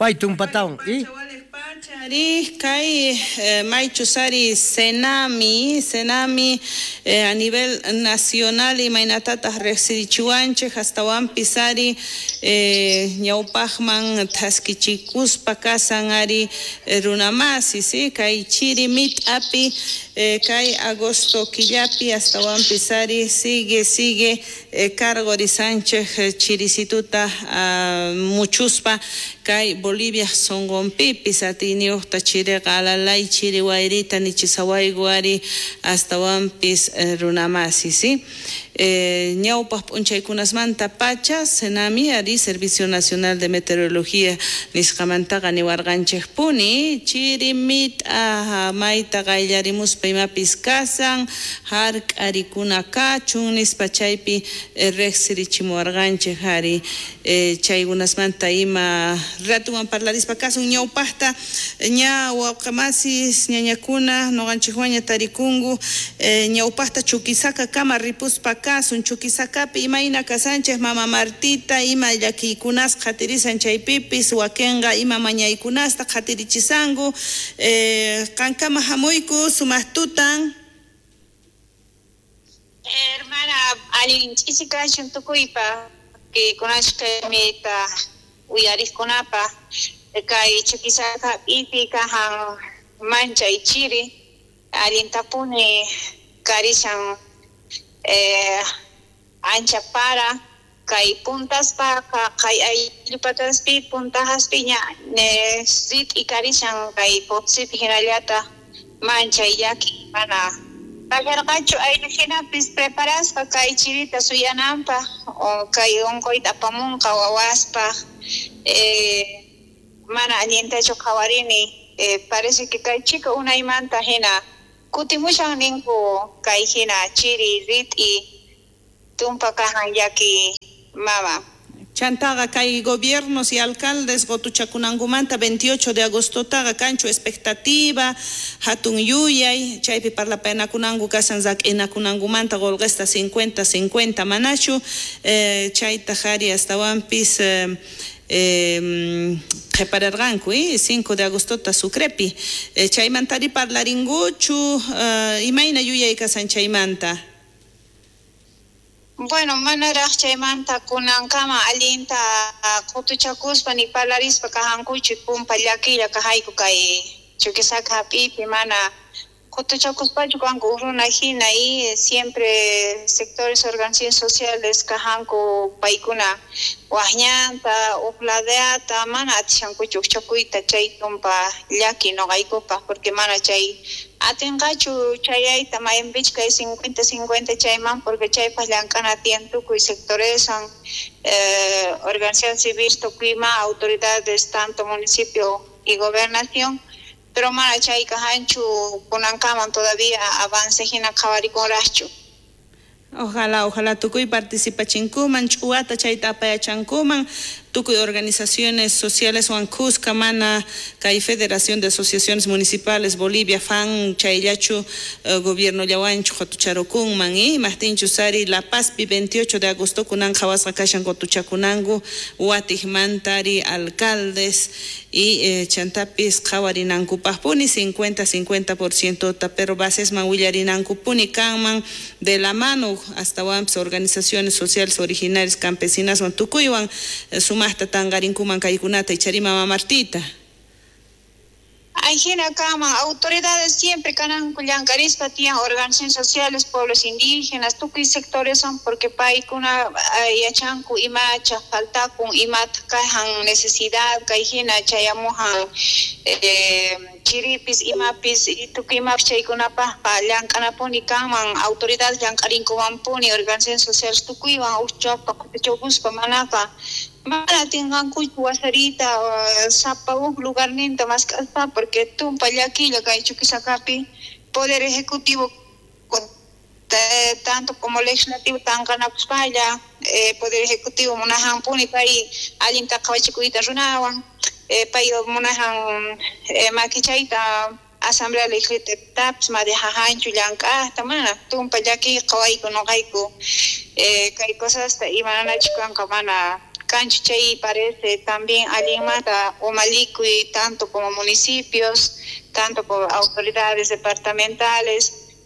Pay tumpatawan y Ari, kay maychus ari Senami, Senami a nivel nacional imaynatataq riqsirichiwanchik astawanpis ari ñawpaqman thaskichikuspa kasan ari runamasis kay chiri mit'api kay agosto killapi astawanpis ari sigue sigue cargorisanchik chirisituta muchuspa kay Bolivia sunqunpipis atiyniyuqta chiriqa alalay chiri wayrita nichisawayku ari astawanpis runamasis ñawpaq p'unchaykunasmanta pacha Senami ari Servicio Nacional de Meteorología nisqamantaqa niwarqanchikpuni chiri mit'a mayta qayllarimuspa imapis kasan hark'arikuna kachun nispa chaypi riqsirichimuwarqanchik ari chaykunasmanta ima ratuwan parlarispa kasun ñawpaqta ña wawqamasis ñañakuna nuqanchikwaña tarikunku ñawpaqta Chuquisaca kama ripuspa kasun Chuquisacapi imayna kasanchik mama Martita ima llakiykunas qhatirisan chaypipis wakinqa ima mañaykunasta qhatirichisanku qankama hamuyku sumaq tutan. Hermana, allin ch'isi kachun tukuypa kunashkamita uyariqkunapa kay Chuquisaca p'ipi kajan manchay chiri allintapuni karishan ancha para kay puntaspaqa kay ayllupataspi puntajaspi ña rit'i karishan kay Potosipi hinallata manchay llaki mana kasharqachu ayllu hinapis preparasqa kay chirita suyananpaq o kay unquyta apamunqa wawaspaq mana allintachu qhawarini parece que kay chika unaymanta hina kutimushan ninku kay hina chiri rit'i tumpa kajan llaki mama. Chantaqa kay gobiernos y alcaldes qutuchakunankumanta 28 de agostotaqa kanchu expectativa hatun yuyay chaypi parlapaynakunanku kasan rak'inakunankumanta qullqista 50-50 manachu chaytaq ari astawanpis qhipararqanku 5 de agostota Sucrepi chaymantari parlarinkuchu imayna yuyay kasan chaymanta. Bueno, manaraq chaymanta kunankama allinta qutuchakuspa ni parlarispa kajankuchu pumpa llakilla kajayku kay Chuquisaca hap'ipi mana qutuchakuspachu kanku runa hina y siempre sectores organizaciones sociales kajanku paykuna waqñanta uqladeata mana atishankuchu uqchakuyta chay tumpa llaki nuqaykupaq porque mana chay atinqachu chayayta maypichu kay 50-50 chayman porque chaypaq llank'ana tiyan tukuy sectoreswan organización civil tukuyma autoridades tanto municipio y gobernación pero mana chay kajanchu kunankaman todavía avance hina qhawarikunraqchu. Ojalá, ojalá tukuy participachinkuman ch'uwata chayta apayachankuman tukuy organizaciones sociales wan kuska mana kay Federación de Asociaciones Municipales Bolivia FAN chayllachu gobierno llawanchu qhatucharukunman imaqtinchu sari La Pazpi 28 de agosto kunan qhawasqa kashan qutuchakunanku watiqmantari alcaldes y chantapis qhawarinankupaqpuni 50-50% ta pero basesman willarinankupuni kanman de la mano astawanpis organizaciones sociales originarias campesinaswan tukuywan sumaqta tanqarinkuman kaykunata ichari mama Martita. Ay hina kaman autoridades siempre kananku llank'arispa tiyan organizaciones sociales pueblos indígenas tukuy sectores son porque paykuna yachanku imacha faltakun imata kajan necesidad kay hina chayamujan chiripis imapis tukuy imapis chaykunapaqqa llank'anapuni kanman autoridades llank'arinkumanpuni organizaciones sociales tukuywan uqchappa qutuchakuspa manaqa mana atinqankuchu wasarita sapa huk lugarninta mask'aspa porque tumpa llakilla kay Chuquisacapi poder ejecutivo tanto como legislativo tanqanakuspalla poder ejecutivo munajanpuni pay allinta qhawachikuyta runawan pay munajan makichayta asamblea legislativapis madijajanchu llank'aqta mana tumpa llakiy qhawayku nuqayku kay cosasta imananachu kanqa mana kanchu chay parece también allinmanta umalikuy tanto como municipios, tanto como autoridades departamentales,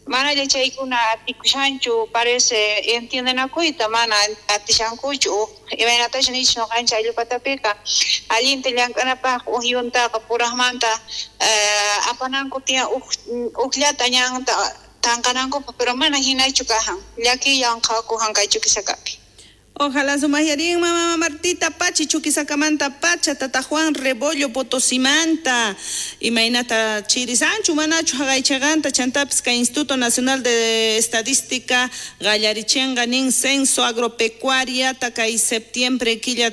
manalla chaykuna atikushanchu parece entiendenakuyta mana atishankuchu imaynatachu nichis ñuqanchik ayllupatapiqa allinta llank'anapaq uj yuntaqa puraqmanta apananku tiyan ujllata ñanta tanqanankupaq pero mana hinachu kajan llakiywan qhawakujan kay Chuquisacapi. Ojalá sumayarin mamá Martita Pachi Chuquisacamanta Pacha Tata Juan Rebollo Potosimanta imaynata chirisanchu manachu haqaychaqanta chantapis kay Instituto Nacional de Estadística qallarichinqa nin censo agropecuariata kay septiembre killa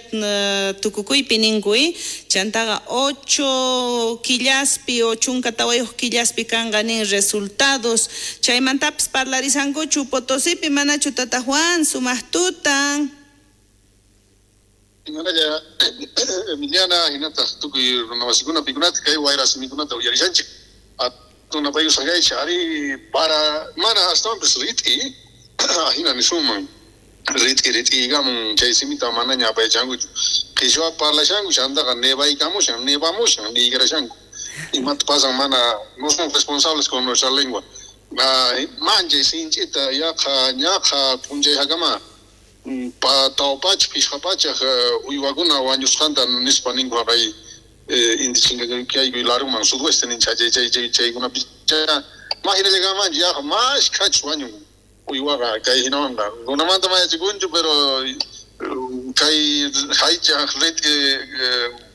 tukukuypi ninku chantaqa 8 killaspi o 14 killaspi kanqa nin resultados chaymantapis parlarisankuchu Potosipi manachu Tata Juan sumaqtutan. Manalla Emiliana hinataq tukuy runamasikuna pikunata kay wayra simikunata uyarishanchik atunapayusaqaychik ari para mana astawanpis rit'i hina nisunman rit'i rit'iykamun chay simita manaña apayachankuchu qhichwa parlashanku chantaqa nevaykamushan nevamushan niykarashanku imata pasan mana no somos responsables con nuestra lengua manchay sinch'ita yaqa ñaqa p'unchayhakama tawpachaq pishqapachaq uywakuna wañusqanta nispa ninku haqay inti chinkakayku laruman sudoeste ninchik chay chay chaykunapi mahinallakamanchik yaqa mashkhachu wañun uywaqa kay hinawanqa runamanta mayachikunchu pero kay haychaq rit'i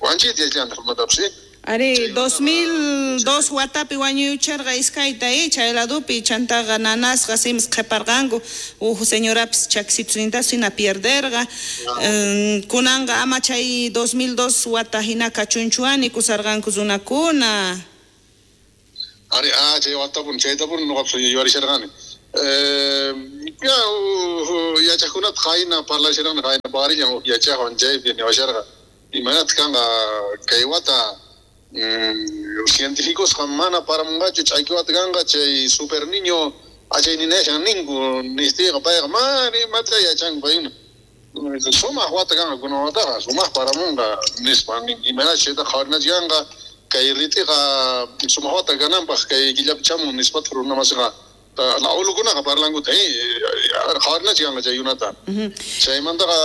wanchita yachantaq runatapis. Ari 2002 watapi wañuyucharqa iskayta chay ladupi chantaqa nanasqa simis qhiparqanku uj señorapis chaksitunintas hina pierderqa kunanqa ama chay 2002 wata hina kachunchuani kusarqanku runakuna. Ari chay watapun chaytapun nuqapis yuyarisharqani ya yachaqkunata qayna parlasharqani qayna parillan uj yachaqwan chaypi niwasharqa imaynataq kanqa kay wata científicos mana paramunqachu ch'aki wata kanqa chay super niño achayninashan ninku nistiyqa payqa mana imata yachanku paykuna sumaq wata kanqa kunan wataqa sumaq paramunqa nispa imaynachu chayta qhawarinachu kanqa kay rit'iqa sumaq wata kananpaq kay killapi chamun nispataq runamasiqa aulukunaqa parlankuta qhawarinachu kanqa chaykunata chaymantaqa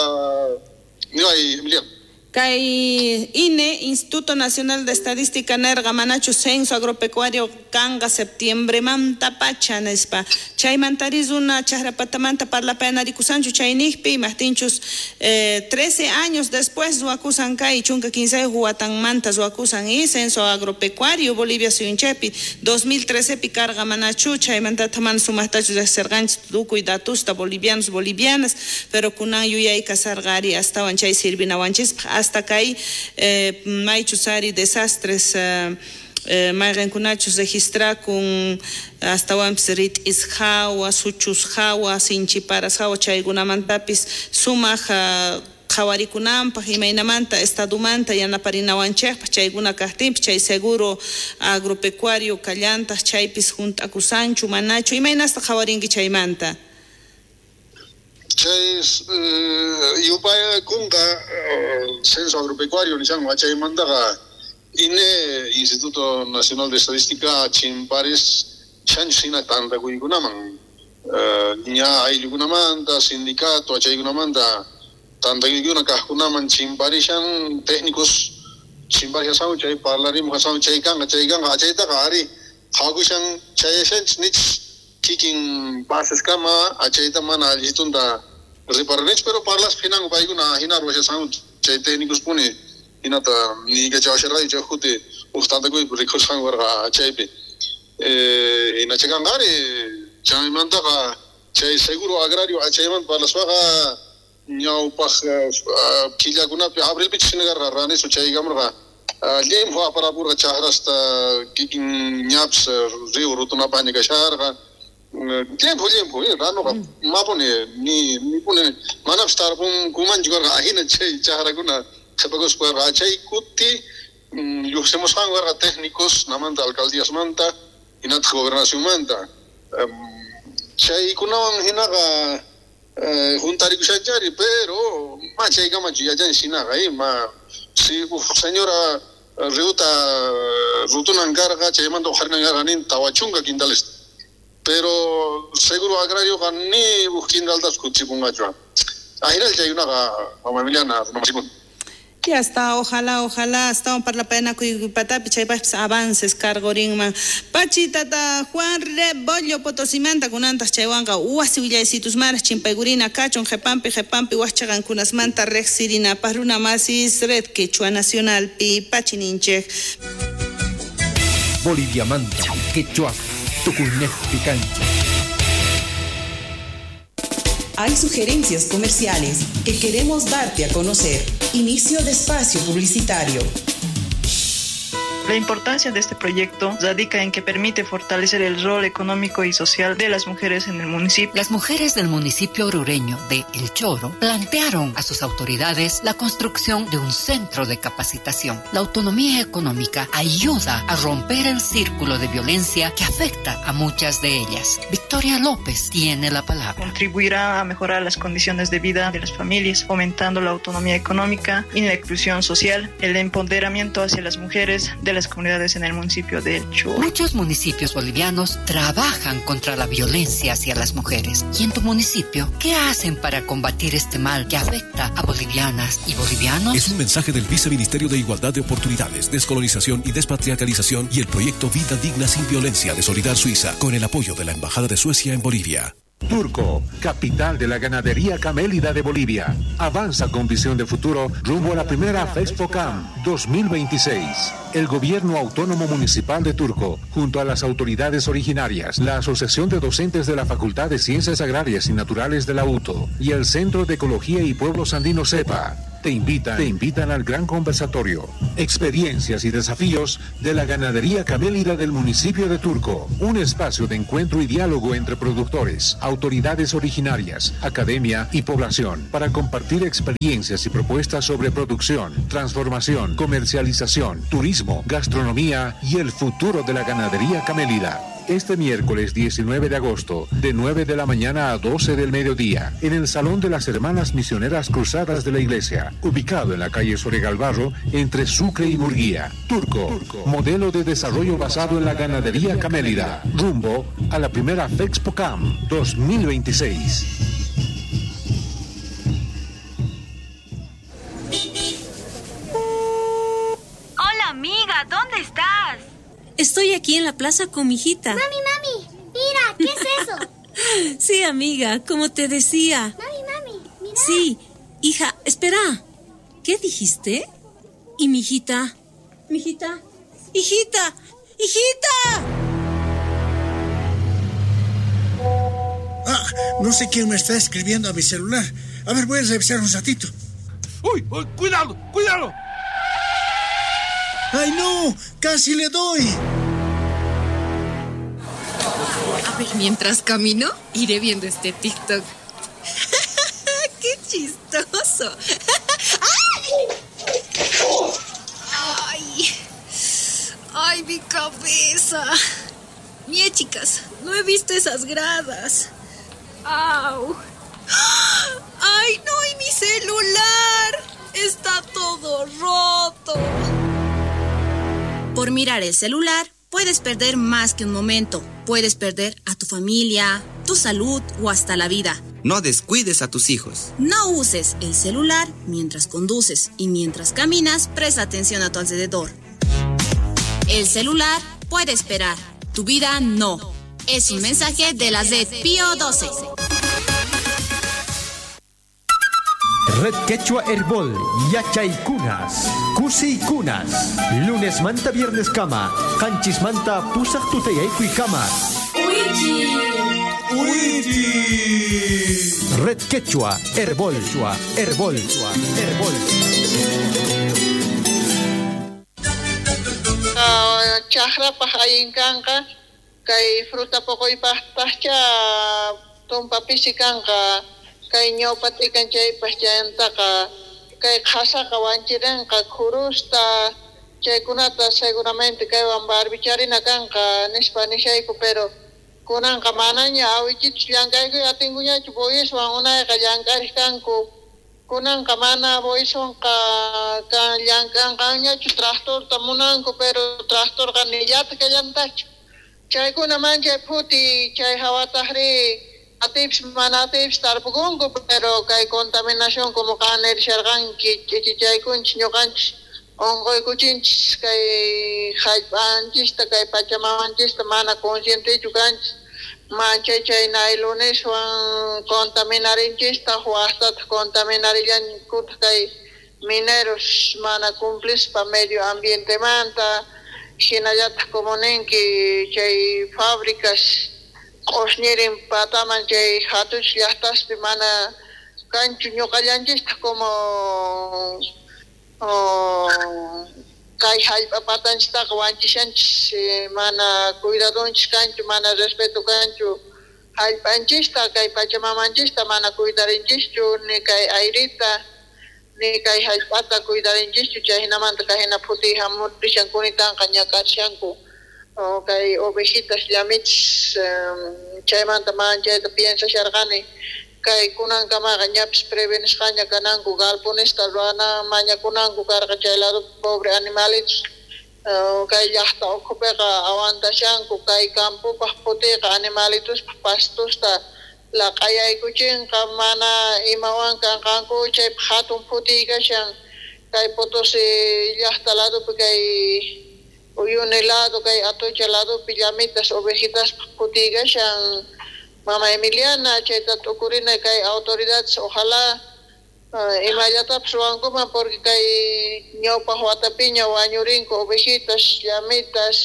niway Emiliano. Kay INE, Instituto Nacional de Estadística nerqa manachu censo agropecuario kanqa septiembre manta pacha nispa chaymantari runa chaqrapatamanta parlapayanarikusanchu chayniqpi imaqtinchus 13 años después ruwakusan kay 15 watanmanta ruwakusan censo agropecuario Bolivia suyunchaypi 2013 pi karqa manachu chaymantata mana sumaqtachu riqsirqanchik tukuy datusta bolivianos bolivianas pero kunan yuyay kasarqa ari astawan chay sirvinawanchispaq hasta kay maychus ari desastres mayqinkunachus registrakun astawanpis rit'is hawa suchus hawa sinchiparas hawa chaykunamantapis sumaq qhawarikunanpaq imaynamanta estadomanta yanaparinawanchikpaq chaykuna kaqtinpis chay seguro agropecuario kallantaq chaypis hunt'akusanchu manachu imaynasta qhawarinki chaymanta. Chay yupaykunqa censo agropecuario nishanku chaymantaqa INE Instituto Nacional de Estadística chimparis shanchu hina tantakuykunaman ña ayllukunamanta sindicato achaykunamanta tantakuykuna kaqkunaman chimparishan técnicos chimparishasanku chay parlarimuqasanku chay kanqa achaytaqa ari qhawakushan chayashanchis nichis kikin baseskama achayta mana allitunta riparanichu pero parlaspa hinanku paykuna hina ruwashasanku chay técnicos puni hinata niykachawasharqayku chay kuti uj tantakuypi rikhusqanku karqa chaypi hina chaykanqa ari chaymantaqa chay seguro agrario achaymanta parlaspaqa ñawpaq killakunapi abrilpichus hina karqa ranisu chaykamurqa llimpu aparapurqa chaqrasta kikin ñapis río rutunapaña kasharqa llimpu llimpu ranuqa mapuni ni puni manapis tarpunkumanchu karqa ahina chay chaqrakuna qhipakuspa karqa chay kuti lluqsimusqanku karqa técnicos namanta alcaldíasmanta hinataq gobernacionmanta chaykunawan hinaqa Juntarikushanchari, pero ma chaykamachu yachan shinaqa, ma si señora riuta rutunan karqa, chaymanta uqharinan karqa nin 40 quintales. Pero seguro agrario ni uj quintaltas kutipunqachu. Ajinal chaykunaqa mama Emiliana runamasipun. Ya está, ojalá, ojalá, hasta un parlapayanakuy patapi chaypaqpis avances cargorinman. Pachi tata Juan Rebollo Potosimanta kunantaj chaywanqa wasi willaysitusmaraj chimpaykurina kachun qhepanpi qhepanpi wajchaqankunasmanta riqsirinapaq runa masis Red Quechua Nacionalpi pachi ninchej. Boliviamanta, Quechua, Tucunejpi cancha. Hay sugerencias comerciales que queremos darte a conocer. Inicio de espacio publicitario. La importancia de este proyecto radica en que permite fortalecer el rol económico y social de las mujeres en el municipio. Las mujeres del municipio orureño de El Choro plantearon a sus autoridades la construcción de un centro de capacitación. La autonomía económica ayuda a romper el círculo de violencia que afecta a muchas de ellas. Victoria López tiene la palabra. Contribuirá a mejorar las condiciones de vida de las familias, fomentando la autonomía económica y la inclusión social, el empoderamiento hacia las mujeres de las comunidades en el municipio de El Choro. Muchos municipios bolivianos trabajan contra la violencia hacia las mujeres. ¿Y en tu municipio qué hacen para combatir este mal que afecta a bolivianas y bolivianos? Es un mensaje del Viceministerio de Igualdad de Oportunidades, Descolonización y Despatriarcalización y el proyecto Vida Digna sin Violencia de Solidar Suiza, con el apoyo de la Embajada de Suecia en Bolivia. Turco, capital de la ganadería camélida de Bolivia, avanza con visión de futuro rumbo a la primera FEXPOCAM 2026. El Gobierno Autónomo Municipal de Turco, junto a las autoridades originarias, la Asociación de Docentes de la Facultad de Ciencias Agrarias y Naturales de la UTO y el Centro de Ecología y Pueblos Andinos CEPA, te invitan al gran conversatorio, experiencias y desafíos de la ganadería camélida del municipio de Turco, un espacio de encuentro y diálogo entre productores, autoridades originarias, academia y población, para compartir experiencias y propuestas sobre producción, transformación, comercialización, turismo, gastronomía y el futuro de la ganadería camélida. Este miércoles 19 de agosto, de 9 de la mañana a 12 del mediodía, en el Salón de las Hermanas Misioneras Cruzadas de la Iglesia, ubicado en la calle Soregalbarro, entre Sucre y Murguía. Turco, modelo de desarrollo basado en la ganadería camélida, rumbo a la primera FEXPOCAM 2026. Hola amiga, ¿dónde estás? Estoy aquí en la plaza con mi hijita. Mami, mami, mira, ¿qué es eso? Sí, amiga, como te decía. Mami, mami, mira. Sí, hija, espera. ¿Qué dijiste? ¿Y mi hijita? ¿Mi hijita? ¡Hijita! ¡Hijita! Ah, no sé quién me está escribiendo a mi celular. A ver, voy a revisar un ratito. ¡Uy! ¡Uy! ¡Cuidado! ¡Cuidado! ¡Ay, no! ¡Casi le doy! A ver, mientras camino, iré viendo este TikTok. ¡Qué chistoso! ¡Ay! ¡Ay, mi cabeza! Mie, chicas, no he visto esas gradas. ¡Au! ¡Ay, no! ¡Y mi celular! ¡Está todo roto! Por mirar el celular, puedes perder más que un momento. Puedes perder a tu familia, tu salud o hasta la vida. No descuides a tus hijos. No uses el celular mientras conduces y mientras caminas, presta atención a tu alrededor. El celular puede esperar, tu vida no. Es un mensaje de la Red Pío 12. Red Quechua Herbol, Yachaykunas, Kusiykunas, Lunes manta viernes kama, Qanchis manta pusaq tutayaykuy kama. Uichi. Uichi. Red Quechua Herbol, Herbol, Herbol. Chaqrapaq allin kanqa, kay fruta poqoypaqtaqcha tumpa pisi kanqa. Kay ñawpa t'ikan chaypas chayantaqa kay qhasaqa wanchirinqa khurusta chaykunata seguramente kaywan barbicharina kanqa nispa nishayku, pero Kunanqa manaña awichitus llank'aykuy atinkuñachu bueyeswan unayqa llank'ariq kanku. Kunanqa mana bueyeswanqa kan llank'anqanñachu tractorta munanku, pero tractorqa nillata kallantachu. Chaykuna manchay phuti chay hawataqri atipis mana atipis tarpukunku, pero kay contaminación como qan nirisharqanki ch'ichichaykunchis ñuqanchis unquykuchinchis kay hallp'anchista kay pachamamanchista mana conscientechu kanchis manchay chay nailoneswan contaminarinchistaq waqtataq contaminarillankutaq kay mineros mana cumplispa medio ambientemanta hinallataq como ninki chay fábricas q'usñirin pataman chay hatuchis llaqtaspi mana kanchu ñuqallanchistaq como kay hallp'a patanchistaqa wanchishanchis mana cuidadonchis kanchu mana respeto kanchu hallp'anchista kay pachamamanchista mana cuidarinchischu ni kay airita ni kay hallp'ata cuidarinchischu chay hinamanta kay hina phutiy hamurishan kunitanqa ñak'arishanku kay ovejitas llamichis chaymanta manchayta piensasharqani kay kunankamaqa ñapis prevenisqaña kananku galponesta ruwana mañakunanku karqa chay lado pobre animalitos kay llaqta ukhupiqa aguantashanku kay campopaq phutiyqa animalitospaq pastosta laq'ayaykuchinqa mana imawan kanqanku chaypaq hatun phutiy kashan kay Potosí llaqta ladopi kay Uyuni lado kay Atocha ladopi llamitas ovejitaspaq phutiy kashan Mama Emiliana chayta t'ukurina kay autoridades ojalá imallatapis ruwankuman porque kay ñawpaq watapiña wañurinku ovejitas llamitas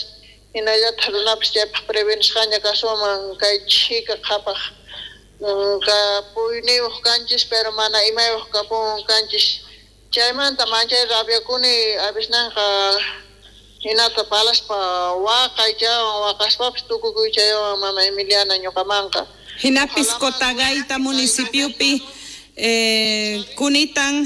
hinallataq runapis chaypaq prevenisqaña kasuman kay chhika qhapaq kapuyniyuq kanchis pero mana imayuq kapun kanchis chaymanta manchay rabiakuni avisnanqa hinata palaspa waqay chaywan waqaspapis tukukuy chaywan mama Emiliana ñuqamanqa. Hinapis Cotagaita municipiopi kunitan.